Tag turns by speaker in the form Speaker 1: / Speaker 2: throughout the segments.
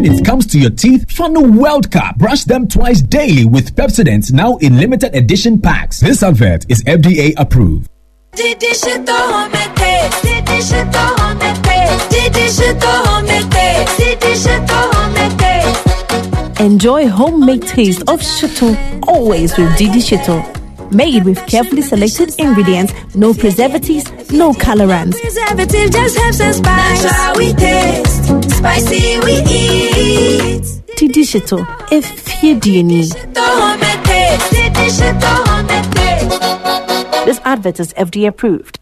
Speaker 1: When it comes to your teeth, Funnel World Cup. Brush them twice daily with Pepsodent now in limited edition packs. This advert is FDA approved.
Speaker 2: Enjoy homemade taste of shito always with Didi Shito. Made with carefully selected ingredients, no preservatives, no colorants.
Speaker 3: Preservative just helps us spice. Natural we taste, spicy we eat.
Speaker 2: Didi Shito, if you This advert is FDA approved.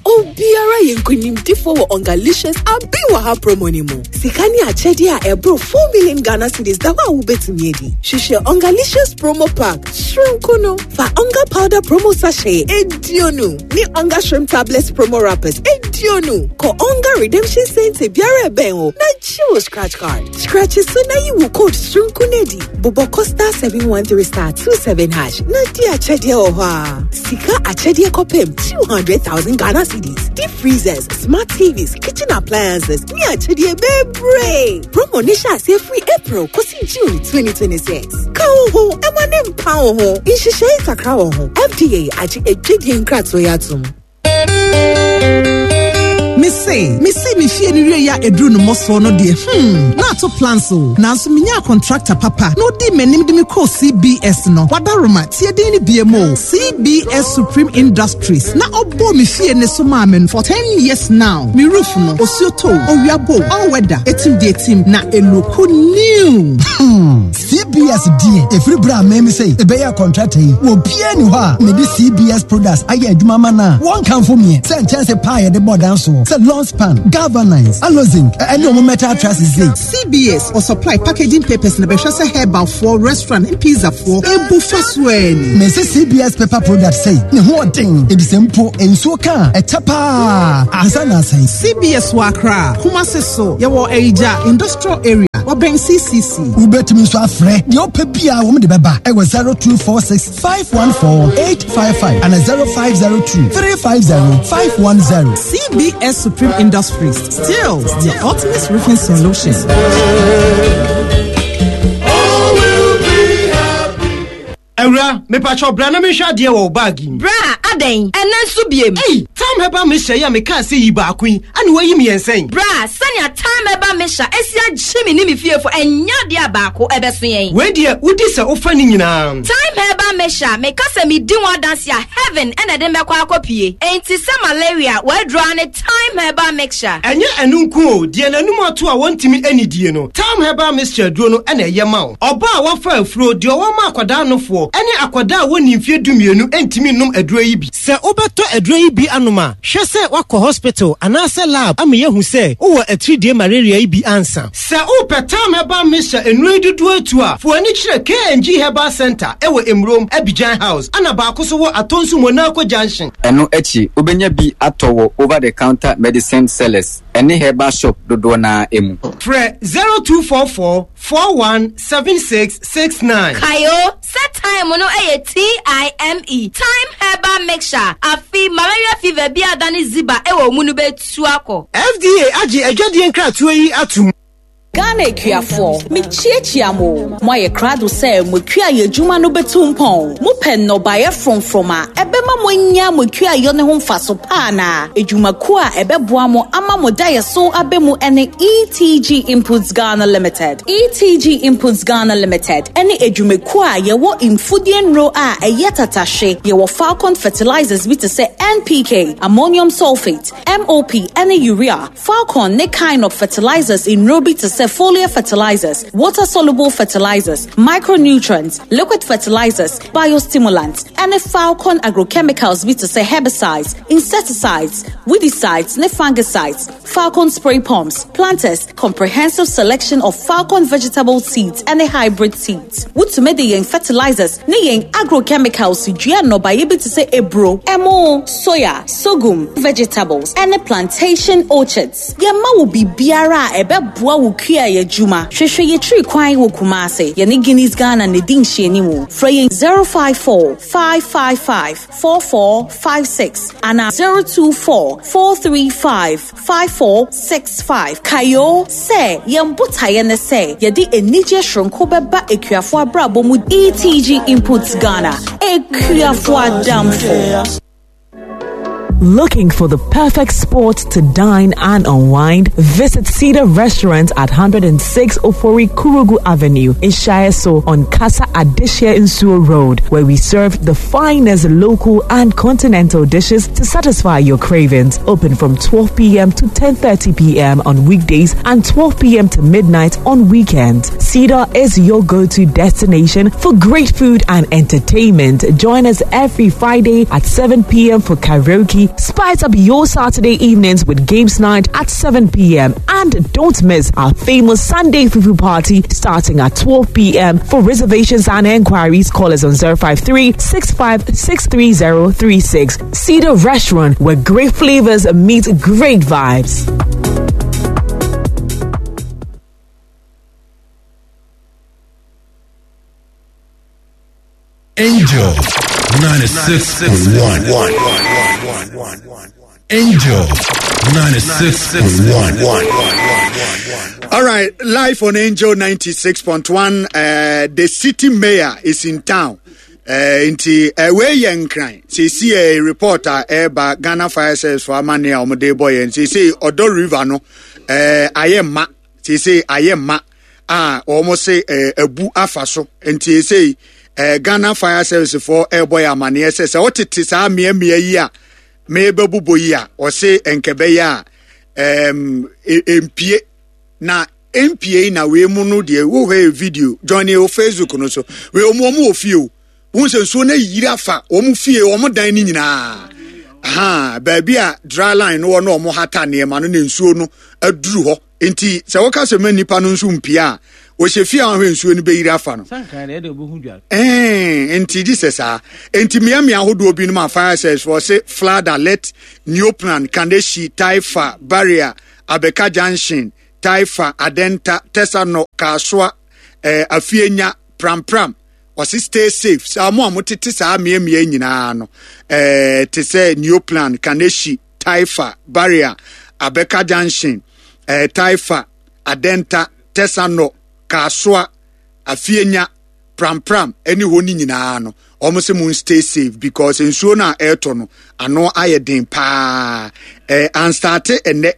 Speaker 4: Obiara yɛ nkonimdifoɔ wɔ Ongalicious Abi Wɔ Ha promo no mu. Sika ne akyɛdeɛ a ɛboro 4 million Ghana cedis da hɔ a wobɛtumi adi. Hwehwɛ Ongalicious promo pack soronko no. Fa Onga powder promo sachet eduonu ne Onga shrimp tablets promo wrappers eduonu. Kɔ Onga redemption center biara ɛbɛn wo na gye wo scratch card. Scratch so na yi wo code soronko no adi. Bobɔ kɔ star 713 star 27 hash na di akyɛdeɛ wɔ hɔ a. Sika akyɛdeɛ kɔpem 200,000 Ghana cedis. Deep freezers, smart TVs, kitchen appliances ne akyɛdeɛ bebree. Promo ne hyɛ aseɛ firi April kɔsi June 2026. Ka wo ho ɛma ne mpa wo ho. Nhyehyɛe kakra wɔ ho. FDA agye adwadie nkratoɔ yi atom.
Speaker 5: Mese, mesi me fie no wie a eduru no mmɔsoɔ no deɛ, hmm, na ato plans o. Nanso menyaa contractor papa na ɔdii m'anim de me kɔɔ CBS no. Wadaroma, tie din no biem o, CBS Supreme Industries na ɔbɔɔ me fie no so maa me for 10 years now. Me roof no, osuo tɔ o, owia bɔ o, all weather, etim deɛ etim, na eloku new.
Speaker 6: Hmm, CBS deɛ, ɛfiri berɛ a meme sɛ ɛbɛyɛ contractor yi, obiara ni hɔ a mede CBS products ayɛ adwuma ma no a wɔnkamfo meɛ sɛ nkyɛnse paa yɛde bɔ dan soɔ sɛ long span, galvanize, alozinc, ɛne ɔmo metal trusses sei.
Speaker 5: CBS ɔsupply packaging papers na bɛhwɛ sɛ herbal foɔ, restaurant ne pizza foɔ ebu fa so ɛni.
Speaker 6: Mese CBS paper product sei ne ho ɔden ebisɛ mpo nsuo ka a ɛkyɛ paa ansa na asɛe.
Speaker 5: CBS wɔ Accra, Kumasi so yɛwɔ Ayigya industrial area wɔbɛn CCC.
Speaker 6: Wobɛtumi nso afrɛ deɛ wopɛ biara wɔn de bɛba ɛwɔ 0246 514 855 ana 0502 350 510.
Speaker 5: CBS Supreme Industries, still the ultimate roofing solution.
Speaker 7: Awura, mepakyɛw bra na menhwɛ adeɛ wɔ wo bag yi mu.
Speaker 8: Bra, adɛn? Ɛnnɛ nso biem?
Speaker 7: Ei, Tam Herbal Mixture yi a mekaa sɛ yi baako yi, ɛna woayi mmiɛnsa yi?
Speaker 8: Bra, sɛnea Tam Herbal Mixture asi agye me ne me fiefo, ɛnyɛ adeɛ a baako ɛbɛso yɛn.
Speaker 7: Wei deɛ, wodi sɛ wofa ne nyinaa.
Speaker 8: Thyme Herbal Mixture, meka sɛ medi ho adanse a, heaven na ɛde me bɛkɔ akɔpue. Enti sɛ malaria, w'aduro ara ne Thyme Herbal Mixture.
Speaker 7: Ɛnyɛ ɛno nko o, deɛ n'anum ato a wɔntumi nnidie no, Thyme Herbal Mixture aduro no na ɛyɛ ma wo. Ɔbaa a wafa afuro, deɛ ɔwɔ ma akwadaa nofoɔ, ne akwadaa a wɔnnii mfeɛ dumienu ntumi nnom aduro yi bi. Sɛ wobɛtɔ aduro yi bi anom a, hwɛ sɛ woakɔ hospital anaasɛ lab ama yɛahu sɛ wowɔ atiridie malaria yi bi ansa. Sɛ wopɛ Thyme Herbal Mixture nnuro yi dodoɔ atu a, fa w'ani kyerɛ K&G Herbal Centre wɔ Emurom, Abidjan House, ɛna baako nso wɔ Atonsu Monaco Junction.
Speaker 9: Ɛno akyi, wobɛnya bi atɔ wɔ over the counter medicine sellers ne herbal shop dodoɔ no ara mu.
Speaker 7: Frɛ 0244 41 76 69.
Speaker 8: Kae o, sɛ thyme no yɛ TIME, Thyme Herbal Mixture. Afe, malaria fever bi a adane ziba wɔ wo mu no bɛtu akɔ.
Speaker 7: FDA agye adwadie nkratoɔ yi atom.
Speaker 10: Ghana akuafoɔ, mekyiakyia mo o. Moayɛ krado sɛ mo akuayɔ adwuma no bɛtu mpɔn? Mopɛ nnɔbaeɛ frɔmfrɔm a ɛbɛma moanya mo akuayɔ no ho mfaso pa anaa? Adwumakuo a ɛbɛboa mo ama mo daeɛso aba mu ne ETG Inputs Ghana Limited. ETG Inputs Ghana Limited ne adwumakuo a yɛwɔ mfudeɛ nnuro a ɛyɛ tatahwe. Yɛwɔ Falcon fertilizers bi te sɛ NPK, ammonium sulfate, MOP ne urea, Falcon ne Kinop fertilizers nnuro bi te sɛ foliar fertilizers, water-soluble fertilizers, micronutrients, liquid fertilizers, biostimulants, ne Falcon agrochemicals bi te sɛ herbicides, insecticides, weedicides ne fungicides, Falcon spray pumps, planters, comprehensive selection of Falcon vegetable seeds ne hybrid seeds. Wotumi de yɛn fertilizers ne yɛn agrochemicals dua nnɔbaeɛ bi te sɛ aburo, ɛmo, soya, sorghum, vegetables, ne plantation orchards. Yɛma wo biribiara a ɛbɛboa wo kua. yɛkua yɛ adwuma. Hwehwɛ yɛtiri kwan wɔ Kumase. Yɛne Guinness Ghana na ɛdi nhyianimu. Frɛ yɛn 054 555 4456 anaa 024 435 5465. Kae o sɛ yɛn botaeɛ ne sɛ yɛde anigyeɛ soronko bɛba akuafoɔ abrabɔ mu. ETG Inputs Ghana, akuafoɔ adamfo.
Speaker 11: Looking for the perfect spot to dine and unwind? Visit Cedar Restaurant at 106 Ofori Kurugu Avenue in Shaeso on Casa Adesha Insuo Road, where we serve the finest local and continental dishes to satisfy your cravings. Open from 12 p.m. to 10:30 p.m. on weekdays and 12 p.m. to midnight on weekends. Cedar is your go-to destination for great food and entertainment. Join us every Friday at 7 p.m. for karaoke. Spice up your Saturday evenings with games night at 7 p.m. And don't miss our famous Sunday Fufu party starting at 12 p.m. For reservations and enquiries, call us on 053 6563036. Cedar Restaurant, where great flavors meet great vibes.
Speaker 12: Angel 96.1. Angel 96.1.
Speaker 13: All right, live on Angel 96.1. The city mayor is in town. Nti wei yɛ nkran seesi ɛ report a ɛreba Ghana Fire Service fo amane a wɔde bɔ yɛn seesi ɔdɔ river no ayɛ mma seesi ayɛ mma a wɔn se abu afa so nti seesi Ghana Fire Service fo ɛrebɔ yɛn amaneɛ sɛ sɛ wɔtete saa mmeammea yi a mebɛbobɔ yi a wɔse nkɛbɛyɛ a mpie na mpie na wei mu no deɛ wohwɛ yɛ video join yɛ wɔ Facebook no so wei wɔn wɔn wɔ fie o wɔn sɛ nsuo no ayiri afa wɔn fie wɔn dan no nyinaa ha baabi a dry line no wɔ na wɔn hata nneɛma no na nsuo no aduru hɔ nti sɛ wɔka sɛ ma nipa no nso mpie a wɔhyɛ fie a wɔhwɛ nsuo no bɛyiri afa no ɛɛ nti gye sɛ saa nti mmeammea ahodoɔ binom a fire service wɔ se flood alert neoplan kaneshie taifa barrier abeka junction Taifa, Adenta, Tesano, Kasoa, eh, Afienya, Prampram. Ɔse stay safe. Saa mo a motete saa mmeammea nyinaa no, eh, te sɛ Neoplan, Kaneshi, Taifa, Barrier, Abeka Junction, eh, Taifa, Adenta, Tesano, Kasoa, Afienya, Prampram ɛne hɔ no nyinaa no, wɔn se mo stay safe because nsuo no a ɛretɔ no, ano ayɛ den paa. Eh, anstarte ɛnɛ.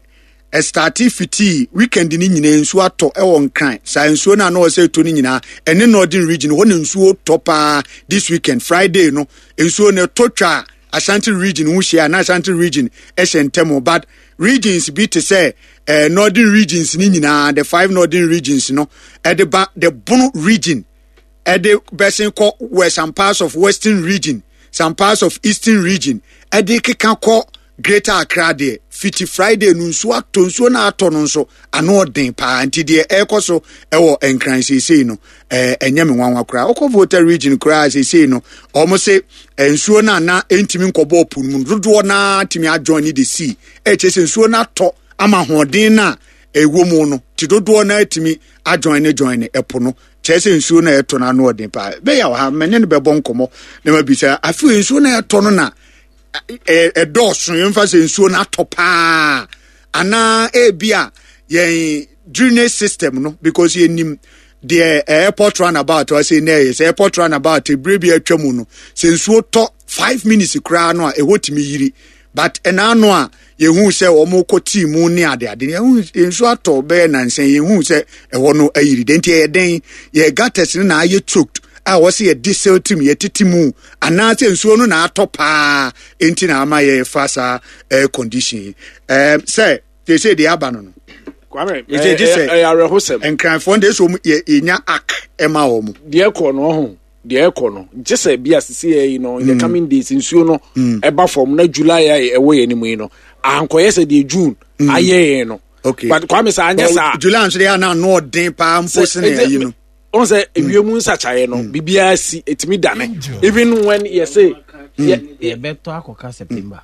Speaker 13: Ɛstartee fitii weekend no nyinaa nsuo atɔ ɛwɔ Nkran saa nsuo no a na ɔsɛ ɛtɔ no nyinaa ɛne Northern region hɔ na nsuo tɔ paa this weekend Friday no nsuo no ɛtɔ twa Ashanti region ho hyia na Ashanti region ɛhyɛ ntɛm but regions bi te sɛ eh, Northern regions no nyinaa the five Northern regions no ɛde ba the Bono region ɛde bɛsen kɔ wɔ some parts of Western region some parts of Eastern region ɛde keka kɔ Greater Accra deɛ fiti Friday no nsuo atɔ nsuo no atɔ no nso ano ɔden paa nti deɛ ɛrekɔ so ɛwɔ Nkran seesei no ɛɛ ɛnyɛ me nwanwa koraa wokɔ Volta region koraa seesei no wɔn se nsuo no a na ɛntumi nkɔbɔ ɔpo no mu dodoɔ naa tumi adjoin ne the sea ɛkyɛ sɛ nsuo no atɔ ama ahoɔden no a ɛwɔ mu no ti dodoɔ naa tumi adjoin ne join ne ɛpo no kyerɛ sɛ nsuo no a ɛtɔ no ano ɔden paa bɛyɛ wɔ ha mene no bɛbɔ nkɔmmɔ na mabisa afei nsuo no a ɛtɔ no na ɛdɔɔso yɛmfa sɛ nsuo no atɔ paa anaa ebi a yɛn drainage system no because yɛnim deɛ airport runabout ɔsɛ na ɛyɛ sɛ airport runabout ebire bi atwa mu no sɛ nsuo tɔ five minutes koraa no a ɛhɔ tumi yiri but ɛna ano a yɛhu sɛ wɔn kɔ tii mu ne ade ade yɛhu nsuo atɔ bɛyɛ nansa yɛhu sɛ ɛhɔ no ayiri den nti ɛyɛ den yɛ gutters no na ayɛ choked a wɔsɛ yɛ diesel tim yɛtete mu anaasɛ nsuo no na atɔ paa nti na ama yɛfa saa air condition yi ɛɛm sɛ sɛ deɛ aba no no
Speaker 14: Kwame,
Speaker 13: ɛsɛ gye sɛ
Speaker 14: ɛyɛ awerɛhosɛm.
Speaker 13: Nkranfoɔ deɛ sɛ yɛ yɛnya ak ɛma wɔn.
Speaker 14: Deɛ ɛkɔ no ɔho deɛ ɛkɔ no gye sɛ bi a sisi yɛ yi no in the mm. coming days nsuo no mm. ɛba fam na July a ɛwɔ yɛn anim yi no ankɔyɛ sɛ deɛ June mm. ayɛ yɛn no.
Speaker 13: Okay.
Speaker 14: But Kwame sɛ anyɛ saa.
Speaker 13: July nso deɛ ana ano ɔden paa mpo sene ayi no.
Speaker 14: Wɔn sɛ ewiem nsakyayɛ no biribiara si etumi dane even when yɛ se.
Speaker 15: Yɛbɛtɔ akɔka September.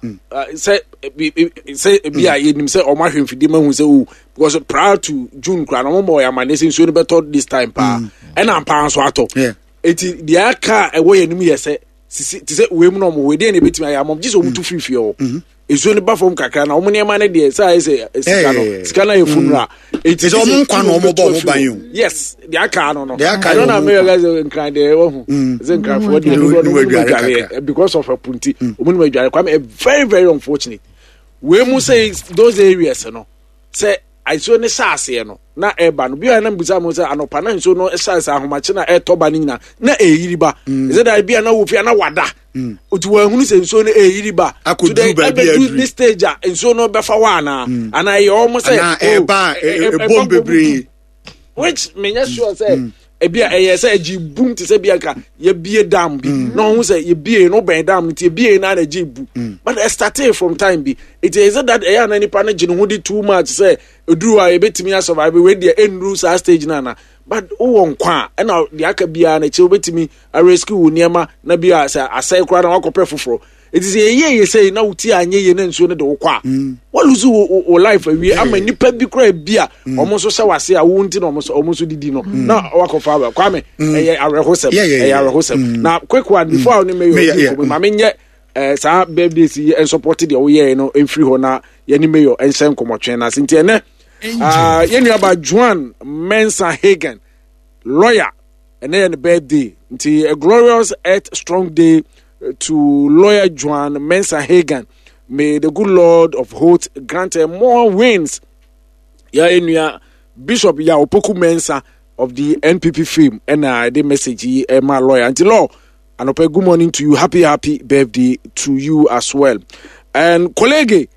Speaker 14: Sɛ sɛ ebi a yɛnim sɛ ɔmo ahwɛ mfidie ma hu sɛ o because prior to June koraa na ɔmo ma ɔyɛ amaneɛ sɛ nsuo no bɛtɔ this time paa ɛna mpaa nso atɔ. Eti deɛ aka a ɛwɔ yɛn anim yɛ sɛ sisi te sɛ wei mu na ɔmo wɔ deɛ na ebetumi ayɛ ama ɔmo gye sɛ ɔmo tu firi fie hɔ. Nsuo no ba fam kakra na ɔmo nneɛma no deɛ sɛ ayɛ sɛ sika no sika no ayɛ funura. Eti
Speaker 13: sɛ ɔmo nkwa na ɔmo bɔ ɔmo ban o.
Speaker 14: Yes deɛ aka no no.
Speaker 13: Deɛ aka
Speaker 14: ɛno na meyɛ guys nkran deɛ ɛwɔ ho. Sɛ nkranfoɔ deɛ dodoɔ no ɔmo adware because of ɛpo nti ɔmo nim adware. Kwame very very unfortunate. Wei mu sɛ those areas no sɛ nsuo no hyɛ aseɛ no na ɛba no bi a na mbisa mo sɛ anɔpa na nsuo no hyɛ aseɛ ahomakye na ɛtɔ ba no nyinaa na ɛyiri ba mm. ɛsɛ da bi a na wɔ fie na wada mm. nti wɔahunu sɛ nsuo no ɛyiri ba
Speaker 13: akɔduru baabi
Speaker 14: aduru ne stage a nsuo no bɛfa hɔ anaa mm. anaa ɛyɛ wɔn sɛ
Speaker 13: anaa ɛba ɛbom bebree
Speaker 14: which menyɛ sure sɛ ebi a ɛyɛ sɛ ɛgye bum te sɛ bi anka yɛbie dam bi mm. na ɔho sɛ yɛbie no bɛn dam no nti yɛbie no ana ɛgye bu mm. but ɛ started from time bi it is that ɛyɛ ana nipa no gye ne ho di too much sɛ eduru a yɛbɛtumi asurvive wei deɛ ɛnnuru saa stage no ana but wowɔ nkwa a ɛna deɛ aka biara no akyire wobɛtumi arescue wo nneɛma na bi a sɛ asɛe koraa na wakɔpɛ foforɔ Eti sɛ yɛyɛ yɛ sɛ na wo ti anyɛ yie na nsuo no de wo kɔ a mm. walusu wo wo life awie ama nipa bi koraa bi a mm. wɔn nso hyɛ wase a wo nti na wɔn nso wɔn nso didi no mm. na wakɔfa aba Kwame ɛyɛ awerɛhosɛm ɛyɛ awerɛhosɛm na quick one before a ne meyɛ ɔdi nkɔmɔ maame nyɛ ɛɛ saa birthday si yɛ nsɔpɔte deɛ woyɛɛ no mfiri hɔ na yɛne mayor nhyɛ nkɔmɔtwɛn na ase nti ɛnɛ yɛn nuaba Joan Mensah Hagen lawyer ɛnɛ yɛ ne birthday nti a glorious earth strong day to lawyer Joan Mensah Hagan. May the good Lord of hosts grant her more wins. Ya enua Bishop Ya Opoku Mensah of the NPP fame and I the message yi my lawyer. Until law, anɔpɛ good morning to you. Happy happy birthday to you as well. And colleague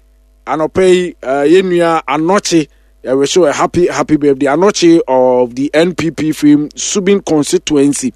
Speaker 14: anɔpɛ yi uh, yɛn nua I wish you a happy happy birthday. Anɔkye of the NPP fame Subin constituency.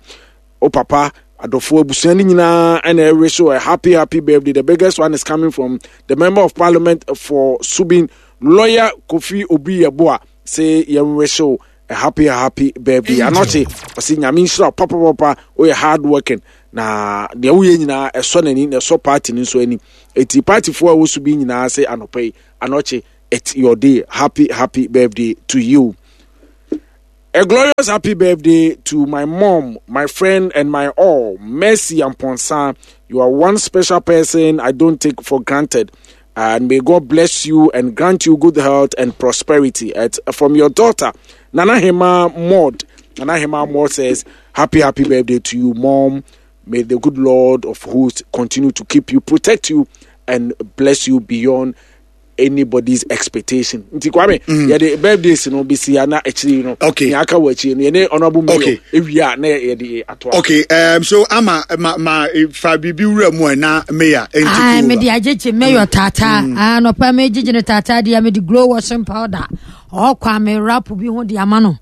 Speaker 14: O papa, adɔfoɔ abusua no nyinaa ɛna ɛwe so a happy happy birthday. The biggest one is coming from the member of parliament for Subin, lawyer Kofi Obi Yeboah. Say yɛnwe so a happy happy birthday. Anɔkye ɔsi nyame nhyira papa papa oyɛ hard working na deɛ woyɛ nyinaa ɛsɔ n'ani na ɛsɔ party no nso ani. Eti partyfoɔ a ɛwɔ Subin nyinaa sɛ anɔpa yi anɔkye it's your day. Happy happy birthday to you. A glorious happy birthday to my mom, my friend, and my all, Mercy Amponsa. You are one special person I don't take for granted. And may God bless you and grant you good health and prosperity. At, from your daughter, Nana Hema Maud. Nana Hema Maud says, Happy, happy birthday to you, mom. May the good Lord of hosts continue to keep you, protect you, and bless you beyond anybody's expectation nti kwame mm. yɛde birthdays no bɛsi ya na akyiri no
Speaker 13: okay.
Speaker 14: nea aka wɔ akyiri no yɛne honorable mayor
Speaker 13: okay.
Speaker 14: ewie a na yɛde ato
Speaker 13: okay um, so ama ma ma fa biribi wura mu a na mayor
Speaker 16: nti ah, mede agyegye mayor mm. taataa mm. ah, nɔpa megyegye no taataa deɛ mede glow washing powder ɔkɔ a me rap bi ho de ama no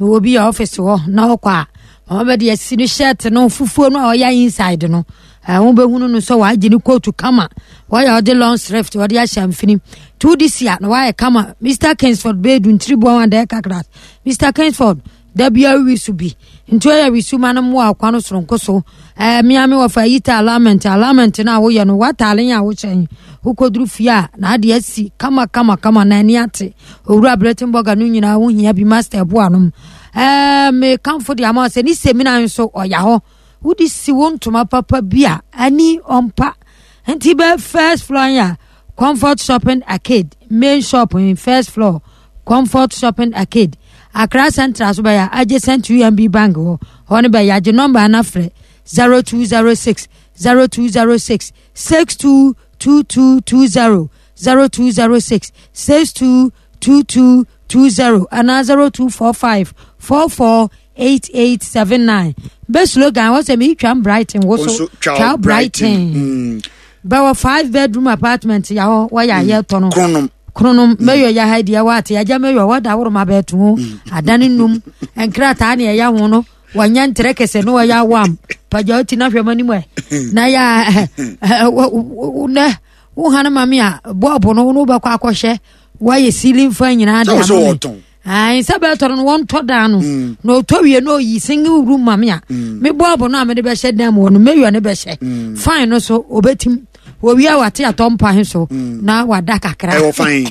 Speaker 16: mewɔ bi yɛ office hɔ na ɔkɔ a mama bɛde asi no shirt no fufuo no a ɔyɛ inside no ɛho bɛhunu no sɛ wagye ne kootu kama wɔyɛ ɔde long thrift ɔde ahyɛ mfini tu de si a na wayɛ kama Mr Kingsford bɛɛdu ntiri boa wɔn adɛɛ kakra Mr Kingsford da bia wi so bi nti ɔyɛ wi so ma no mmoa akwa no soronko so ɛɛ mmea me wɔfa yi ta alignment alignment no a woyɛ no wataale a wohyɛ wokɔduru fie a na ade asi kama kama kama na ani ate Owura Bretenbɔga no nyinaa ho hia bi Master boa nom. Ɛɛ mekamfo de ama sɛ ne semina nso ɔya hɔ. Wode si wo ntoma papa bi a ani ɔmpa. Nti bɛ first floor ya Comfort Shopping Arcade main shop in first floor Comfort Shopping Arcade Accra Central so bɛyɛ adjacent to UMB Bank hɔ. Hɔ no bɛyɛ agye nɔmba ana frɛ 0206 0206 622220 0206 622220 anaa 0245 448879. Bɛ slogan wɔ sɛ meretwam Brighton wo so twa Brighton. Mm. Bɛwɔ five bedroom apartment ya hɔ wɔyɛ ayɛ tɔ no.
Speaker 13: Kronom.
Speaker 16: Kronom mɛyɔ ya ha deɛ wɔate agya mɛyɔ wɔda woro ma bɛɛto ho adane num nkrataa ne ɛyɛ ho no wɔnyɛ ntere kɛse no wɔyɛ awam pagya ɔti na hwɛ m'anim ɛ na yɛ nɛ wo hane ma me a bɔɔbo no wo bɛkɔ akɔhyɛ woayɛ ceiling fan nyinaa de ama me Ayi sɛ bɛtɔ no wɔntɔ dan no na ɔtɔ wie na ɔyi single room ma me a mebɔ abo no a mede bɛhyɛ dan mu hɔ no meyɔ ne bɛhyɛ fine no so ɔbɛtim wɔwie a wate atɔ mpa he so na wada kakra.
Speaker 13: Ɛwɔ fine.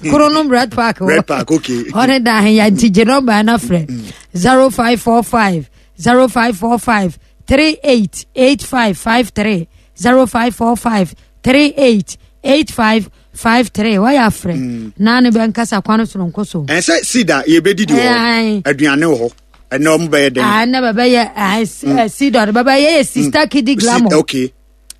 Speaker 16: Koro no Red Park hɔ.
Speaker 13: Red Park, okay.
Speaker 16: Ɔne da he ya nti gye nɔmba no frɛ 0545 0545 38 8553 0545 38 8553 wɔyɛ afrɛ na ne bɛnkasa kwan soronko so.
Speaker 13: Ɛsɛ sida yɛbɛdidi wɔ aduane wɔ hɔ ɛnɛ ɔmo bɛyɛ dɛn?
Speaker 16: Ɛnɛ bɛbɛyɛ sida no bɛbɛyɛ yɛ Sister Kidi Glamour.
Speaker 13: Okay.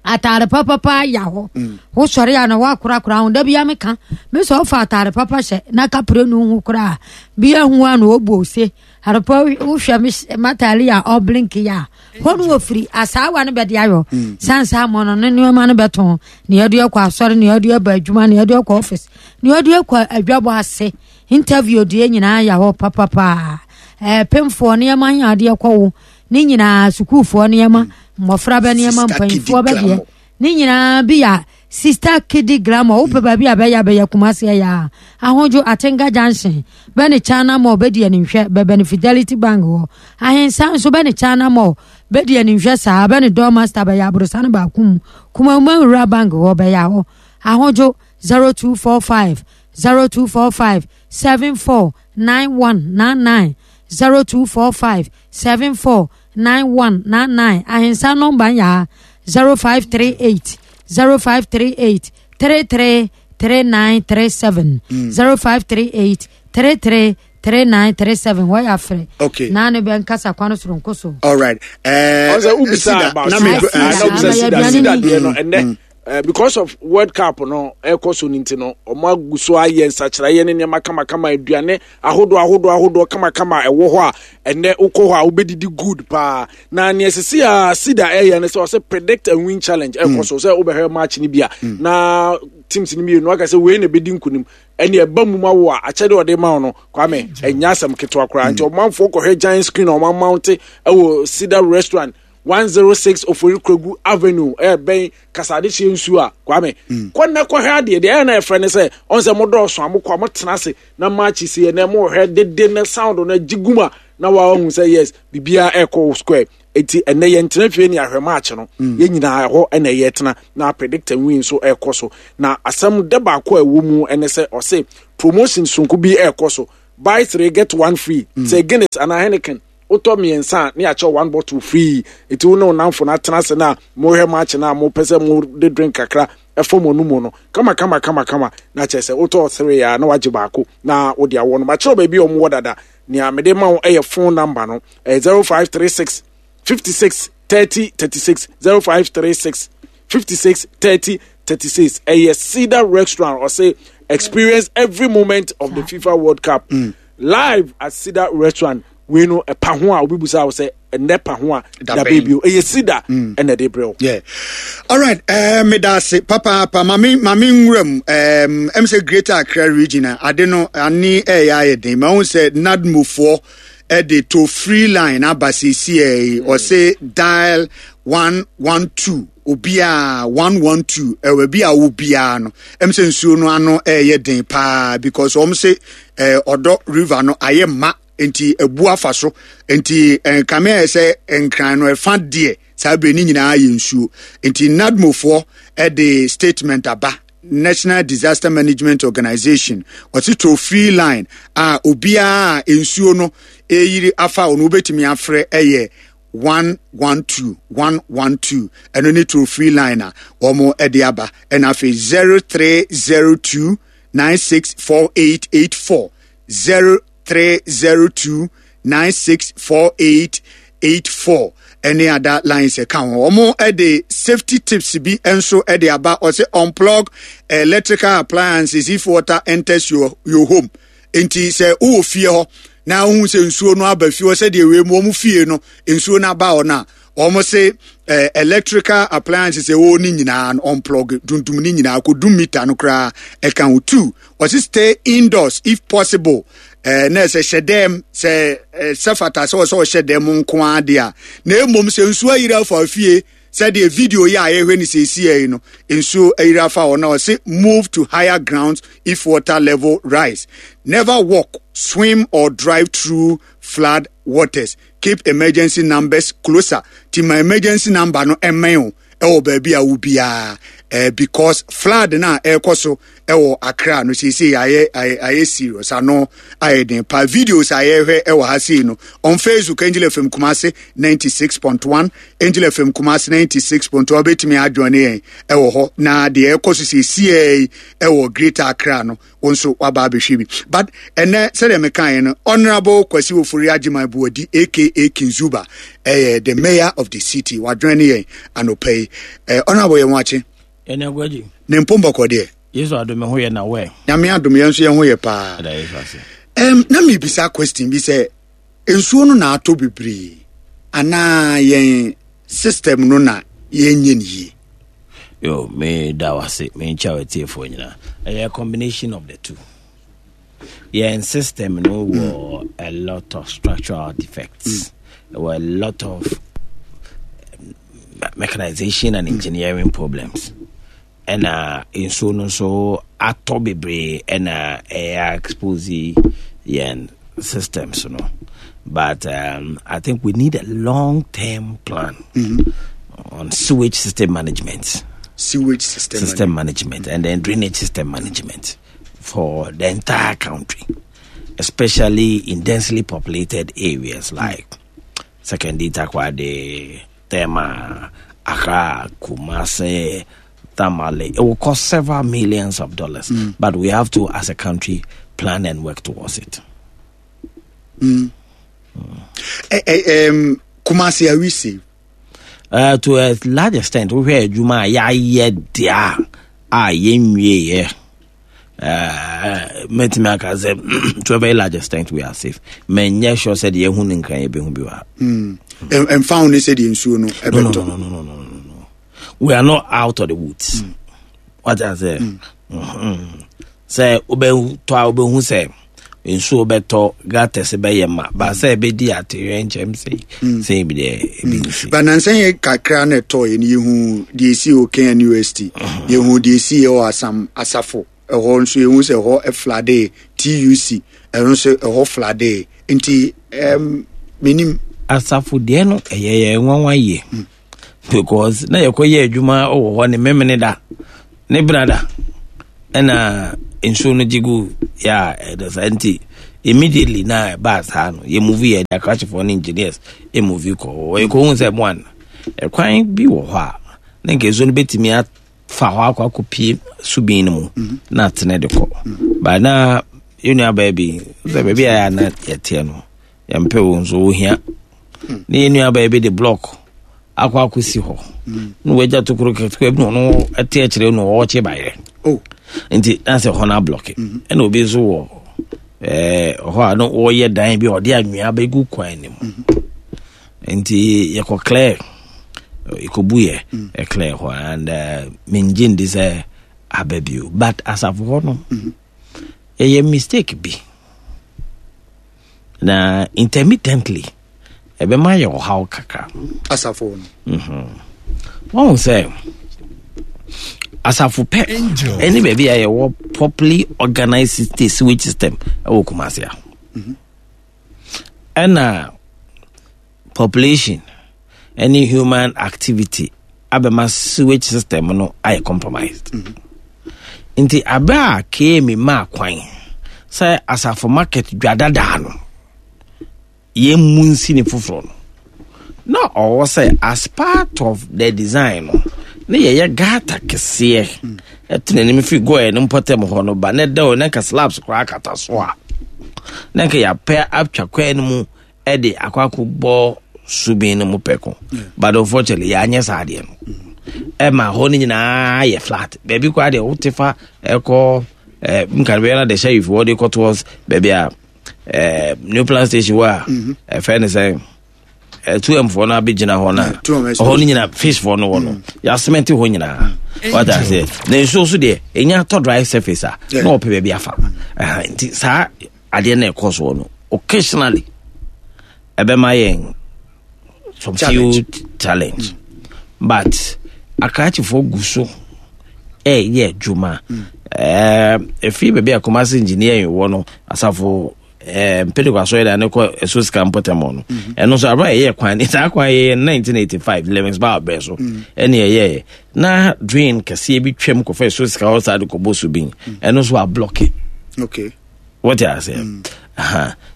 Speaker 16: Ataare papapa ya hɔ. Wosɔre a na woakorakora ho. Da bia meka me sɛ ɔfa ataare papa hyɛ na kapre no ho koraa bia hu a na ɔbu ose arepa wohwɛ me m'ataare a ɔblink yɛ a hɔ no wɔfiri asaawa no bɛde ayɔ sansa mɔ no ne nneɛma no bɛtɔn ne yɛde akɔ asɔre ne yɛde aba adwuma ne yɛde akɔ office ne yɛde akɔ adwabɔ ase interview deɛ nyinaa yɛ hɔ papapaa ɛɛ pemfoɔ nneɛma yɛ adeɛ kɔ wo ne nyinaa sukuufoɔ nneɛma mmɔfra bɛ nneɛma mpanyinfoɔ bɛ deɛ ne nyinaa bi yɛ Sister Kidi Glamour wopɛ baabi a bɛyɛ bɛyɛ Kumasi ɛyɛ a Ahodwo Atenga Junction bɛ ne China Mall bɛdi animhwɛ bɛbɛ ne Fidelity Bank hɔ Ahensa nso bɛ ne China Mall bɛdi animhwɛ saa bɛ ne Doormaster bɛyɛ aborosa no baako mu Kumawuma Nwura Bank hɔ bɛyɛ hɔ Ahodwo 0245 0245 74 9199 0245 74 9199 Ahensa nɔmba nyɛ ha 0538 0538 33 3937 0538 33 3937 wɔyɛ afrɛ.
Speaker 13: Okay.
Speaker 16: Na ne bɛ nkasa kwan soronko so.
Speaker 13: All right.
Speaker 14: Ɔsɛ wobisa about sida. Na wobisa sida sida deɛ no ɛnɛ because of World Cup no ɛkɔ so no nti no ɔmo agu so ayɛ nsakyeraeɛ ne nneɛma kamakama, aduane ahodoɔ ahodoɔ ahodoɔ kamakama ɛwɔ hɔ a ɛnɛ wokɔ hɔ a wobɛdidi good paa. Na nea ɛsisi a sida ɛyɛ no sɛ ɔsɛ predict and win challenge ɛkɔ so sɛ wobɛhwɛ match no bi a na teams no mmienu aka sɛ wei na ɛbɛdi nkonim ɛne ɛba mu ma wo a akyɛde ɔde ma wo no Kwame ɛnyɛ asɛm ketewa koraa. Nti ɔmanfoɔ kɔhwɛ giant screen a ɔma mounte ɛwɔ Sida restaurant 106 Ofori Krogu Avenue ɛbɛn Kasadehyeɛ nsuo a Kwame kɔ nnɛ kɔhwɛ adeɛ deɛ ɛyɛ na ɛfrɛ ne sɛ ɔn sɛ modɔɔso a mokɔ a motena ase na match si ɛnɛ mohwɛ dede ne sound no agye gum a na wahu sɛ yes biribiara ɛkɔ square. Eti ɛnɛ yɛn tena fie ne ahwɛ match no yɛn nyinaa ɛhɔ ɛna ɛyɛ tena na predict and win nso ɛkɔ so. Na asɛm dɛ baako a ɛwɔ mu ɛne sɛ ɔse promotion sonko bi ɛkɔ so, buy three get one free. Sɛ Guinness anaa Heineken wotɔ mmiɛnsa a ne yɛakyɛ one bottle free. Eti wo ne wo namfo no atena ase na mohwɛ match no a mopɛ sɛ mode drink kakra ɛfam ɔno mu no kama kama kama kama na kyerɛ sɛ wotɔ three a na wagye baako na wode awɔ no. Makyerɛw baabi a wɔwɔ dada. Nea mede ma wo ɛyɛ phone number no ɛyɛ 0536 56 30 36 0536 56 30 36. Ɛyɛ Cedar Restaurant. Ɔse experience every moment of the FIFA World Cup live at Cedar Restaurant. Wei no ɛpa ho a obi busa wo sɛ ɛnɛ pa ho a da baabi o ɛyɛ Cedar ɛna ɛde brɛ wo.
Speaker 13: Yeah. All right. Meda ase papaapa. Mame mame nwura mu. Ɛm sɛ Greater Accra Region a ade no ani ɛyɛ ayɛ den. Ma wo sɛ NADMOfoɔ ɛde to free line aba seesie yi. Ɔse dial 112 obiara 112 ɛwɔ bi a wo biara no. Ɛm sɛ nsuo no ano ɛyɛ den paa because wɔn se ɔdɔ river no ayɛ ma nti ebu afa so nti nkame ayɛ sɛ nkran no ɛfa deɛ saa bere ne nyinaa yɛ nsuo nti NADMOfoɔ ɛde statement aba, National Disaster Management Organization ɔte toll free line a obiara a nsuo no ɛyiri afa ɔno wobɛtumi afrɛ ɛyɛ 112 112 ɛno ne toll free line a wɔn ɛde aba. Ɛna afei 0302 964884 0302 964884 ɛne ada lines ɛka ho. Wɔn ɛde safety tips bi nso ɛde aba. Ɔsɛ unplug electrical appliances if water enters your home. Nti sɛ wowɔ fie hɔ na wohu sɛ nsuo no aba fie hɔ sɛdeɛ wei mu wɔn fie no nsuo no aba hɔ no a wɔn se electrical appliances ɛwɔ ne nyinaa no unplug dundum ne nyinaa kɔdum meter no koraa ɛka ho. Two, ɔse stay indoors if possible. Na ɛsɛ hyɛ dɛm sɛ sɛ fata sɛ ɔsɛ ɔhyɛ dɛm nko ara deɛ a na mmom sɛ nsuo ayiri afa fie. Sɛdeɛ video yi a yɛhwɛ no seesia yi no, nsuo ayiri afa hɔ na ɔse move to higher grounds if water level rise. Never walk, swim or drive through flood waters. Keep emergency numbers closer. Ti ma emergency number no ɛmmɛn o ɛwɔ baabi a wo biara eh, because flood no a ɛrekɔ so ɛwɔ Accra no seesei ayɛ ayɛ ayɛ serious ano ayɛ den pa videos a yɛhwɛ ɛwɔ ha sei no on Facebook Angel FM Kumasi 96.1 Angel FM Kumasi 96.1 wobɛtumi adjoin yɛn ɛwɔ hɔ na deɛ ɛkɔ so seesei ɛwɔ Greater Accra no wo nso waba abɛhwɛ bi but ɛnɛ sɛdeɛ mekaeɛ no Honorable Kwasi Ofori Agyeman Buadi aka Kinzuba ɛyɛ the mayor of the city wadwɛn ne yɛn anɔpa yi eh, Honorable yɛn wakye
Speaker 15: ɛne aguagye
Speaker 13: ne mpom bɔkɔ deɛ
Speaker 15: Yesu adom ho yɛ na wɛ
Speaker 13: Nyame adom yɛn nso yɛn ho yɛ paa
Speaker 15: ɛda Yesu ase.
Speaker 13: Na mebisa question bi sɛ nsuo no na atɔ bebree anaa yɛn system no na yɛnyɛ no yie?
Speaker 15: Yo, me da wase, me nkyɛ atiefoɔ nyinaa. Ɛyɛ combination of the two. Yɛn system no wɔ a lot of structural defects. Wɔ a lot of mechanization and engineering problems. Ɛna nsuo no nso atɔ bebree ɛna ɛyɛ expose yɛn systems no. But I think we need a long-term plan on sewage system management.
Speaker 13: Sewage system,
Speaker 15: system management, and then drainage system management for the entire country, especially in densely populated areas like Sekondi, Takoradi, Tema, Accra, Kumasi, Tamale. It will cost several millions of dollars, but we have to, as a country, plan and work towards it.
Speaker 13: Kumasi, are we safe?
Speaker 15: To a large extent, we hear adwuma a yɛayɛ deɛ a yɛnwieɛ. Mɛtumi aka sɛ to a very large extent we are safe. Menyɛ sure sɛ deɛ yɛhu no nkran yɛbɛhu bi wɔ ha.
Speaker 13: Ɛmfa ho ne sɛdeɛ nsuo no
Speaker 15: No,
Speaker 13: ɛbɛtɔ.
Speaker 15: no, no, no, no, no, no, no. We are not out of the woods. What I say? Sɛ wobɛtɔ a wobɛhu sɛ nsuo bɛtɔ gutters bɛyɛ ma ba sɛ ɛbɛdi atewerɛ nkyɛm sei sei bi deɛ ebi nsi.
Speaker 13: But nansa yɛ kakra na ɛtɔ yɛ no yɛhu deɛ ɛsi wɔ KNUST, yɛhu deɛ ɛsi yɛ wɔ Asam Asafo ɛhɔ nso yɛhu sɛ ɛhɔ ɛflade TUC ɛno nso ɛhɔ flade nti menim.
Speaker 15: Asafo deɛ no ɛyɛ yɛ nwanwa yie because na yɛkɔ yɛ adwuma wɔ hɔ ne memene da ne brada ɛna nsuo no gye gu yɛ a ɛdɔ saa nti immediately na ɛbaa saa no yɛ move yɛ de akrakyefoɔ ne engineers move kɔ hɔ yɛkɔ hu sɛ one ɛkwan bi wɔ hɔ a na nka nsuo no bɛtumi afa hɔ akɔ akɔpie subin no mu na atene de kɔ ba na yɛn nua baa bi sɛ baabi a yɛ a na yɛteɛ no yɛmpɛ wo nso wohia ne yɛn nua baa bi de block akɔ akɔsi hɔ na wagya tokuro ketewa bi na ɔno ɛte akyerɛ no ɔɔkye bayerɛ nti na sɛ hɔ no ablɔke ɛna obi nso wɔ hɔ a na wɔyɛ dan bi a ɔde anwea bɛgu kwan no mu nti yɛkɔ clear yɛkɔbu yɛ clear hɔ and mengye ndi sɛ aba bio but asafo hɔ no ɛyɛ mistake bi na intermittently ɛbɛma yɛ ɔhaw kakra
Speaker 13: asafo no
Speaker 15: wɔn sɛ asafo pɛ ɛne baabi a yɛwɔ properly organized state sewage system ɛwɔ Kumasi a ɛna population ɛne human activity abɛma sewage system no ayɛ compromised nti abɛ a KMA maa kwan sɛ asafo market dwa dadaa no yɛn mu nsi ne foforɔ no na ɔwɔ sɛ as part of the design no ne yɛyɛ gutter kɛseɛ ɛtena anim firi gɔɛ no mpɔtam hɔ no ba ne dɛw ne nka slabs koraa kata so a na nka yɛapɛ atwa kwan no mu ɛde akɔ akɔbɔ subin no mu pɛko but unfortunately yɛanyɛ saa adeɛ no ɛma hɔ no nyinaa yɛ flat baabi koraa deɛ wote fa ɛkɔ nka bɛyɛ na de sheriff wɔ de kɔ towards baabi a new plan station wɔ a ɛfɛ ne sɛ 2M foɔ no abɛgyina hɔ no a ɛhɔ no nyina fish foɔ no wɔ no yɛasemɛnte hɔ nyinaa wata aseɛ na nsuo so deɛ ɛnya tɔ dry surface a na ɔpɛ baabi afa nti saa adeɛ no ɛkɔ soɔ no occasionally ɛbɛma yɛn some few challenge. But akrakyefoɔ gu so ɛyɛ adwuma. Ɛfiri baabi a Kumasi engineering wɔ no, asafo mpɛdɛkɔ asɔre da ne kɔ ɛso sika mpɔtam no. Ɛno nso abira yɛyɛ kwan ne saa kwan yɛyɛ 1985 Lewis Bar brɛ so ɛne yɛyɛ na drain kɛseɛ bi twam kɔfa ɛso sika hɔ saa de kɔbɔ so bi. Ɛno nso ablɔke.
Speaker 13: Okay.
Speaker 15: Wɔte aseɛ.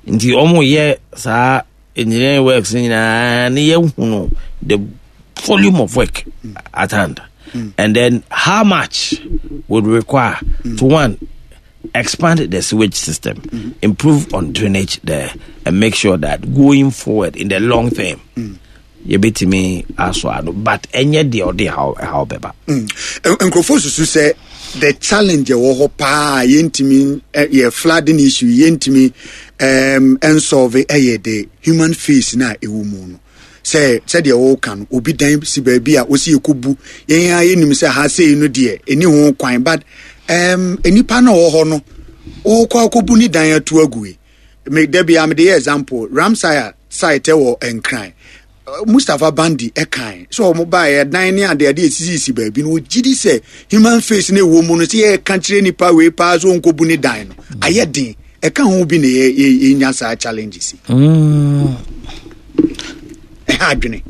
Speaker 15: Nti wɔn yɛ saa engineering works nyinaa ne yɛhunu the volume of work at hand. And then how much would require to one expand the sewage system, improve on drainage there, and make sure that going forward in the long term, yɛbɛtumi asɔ ano, but ɛnyɛ deɛ ɔde haw bɛba.
Speaker 13: Nkurɔfoɔ susu sɛ the challenge ɛwɔ hɔ paa yɛntumi yɛ flooding issue yɛntumi nsolve ɛyɛ the human face na ɛwɔ mu no, sɛ sɛdeɛ wɔka no, obi dan si baabi a wɔsi yɛkɔbu yɛn a yɛnim sɛ ha sei no deɛ ɛni ho kwan, but nipa no ɔwɔ hɔ no wokɔ akɔbu ne dan ato agu yi. Me da bia mede yɛ example, Ramsar site wɔ Nkran, Mustapha Bandi ɛkan sɛ ɔmo baeɛ dan ne ade ade esisisi baabi no, wɔgye di sɛ human face no ɛwɔ mu no, sɛ yɛka kyerɛ nipa wei paa sɛ ɔnkɔbu ne dan no ayɛ den. Ɛka ho bi na yɛnya saa challenges yi. Ɛha adwene.